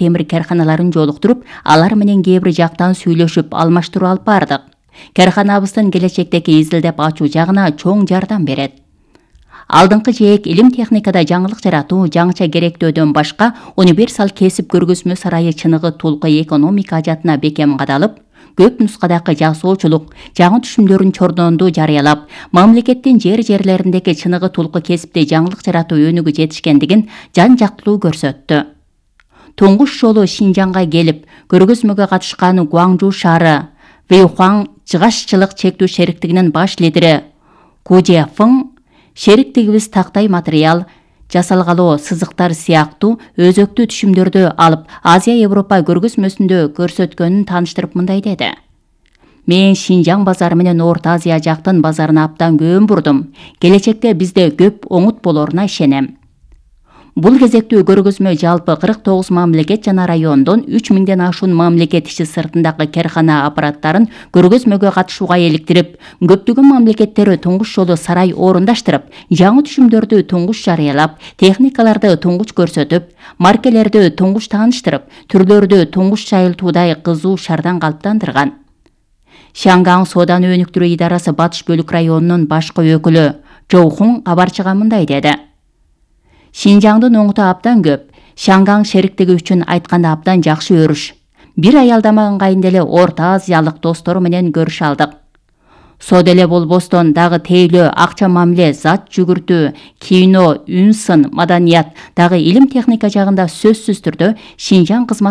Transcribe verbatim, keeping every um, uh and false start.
темир карханаларын жолуктуруп, алар менен кээ бир жактан сүйлөшүп, алмаштыруу алып бардык. Карханабыздын келечектеги изилдеп ачуу жагына чоң жардам берет. Алдыңкы жээк илим техникада жаңылык жаратуу, жаңыча керектөөдөн башка универсал кесип көргөзмө сарайы чыныгы Толкой экономика ажатына бекем кадалып, көп нускадагы жасоочулук, жаңы түшүмдөрүн чордонду жарыялап, мамлекеттин жер-жерлериндеги чыныгы Толкой кесипте жаңылык жаратуу өнүгү жетишкендигин жан-жактылуу көрсөттү. Туңгуш жолу Шинжаңга келип, көргөзмөгө катышкан Гуаңжу шаары Вэйхуаң жыгашчылык чектүү шериктигинин баш лидери Ку Жефың шериктигибиз тактай материал, жасалгалоо сызыктар сыяктуу өзөктүү түшүмдөрдү алып Азия Европа көргөзмөсүндө көрсөткөнүн тааныштырып мындай деди. Мен Шинжаң базары менен Орто Азия жактын базарына абдан көңүл бурдум. Келечекте бизде көп оңут болоруна ишенем. Бул кезектүү көргөзмө жалпы кырк тогуз мамлекет жана райондон үч миңден ашуун мамлекет ичи сыртындагы кархана аппараттарын көргөзмөгө катышууга эликтирип, көптөгөн мамлекеттер туңгуш жолу сарай орундаштырып, жаңы түшүмдөрдү туңгуш жарыялап, техникаларды туңгуш көрсөтүп, маркелерди туңгуш тааныштырып, түрлөрдү туңгуш жайылтуудай кызуу шардан калыптандырган. Шангаң сооданы өнүктүрүү идарасы батыш бөлүк районунун башкы өкүлү Жоухун кабарчыга мындай деди. Шинжаңдын оңуту абдан көп. Шангаң шериктиги үчүн айтканда абдан жакшы өрүш. Бир аялдамаган кайын эле Орто Азиялык достору менен көрүшө алдык. Соода эле болбостон дагы тейлөө, акча мамиле, зат жүгүртүү, кино, үн сын, маданият, дагы илим техника жагында сөзсүз түрдө Шинжаң кызмат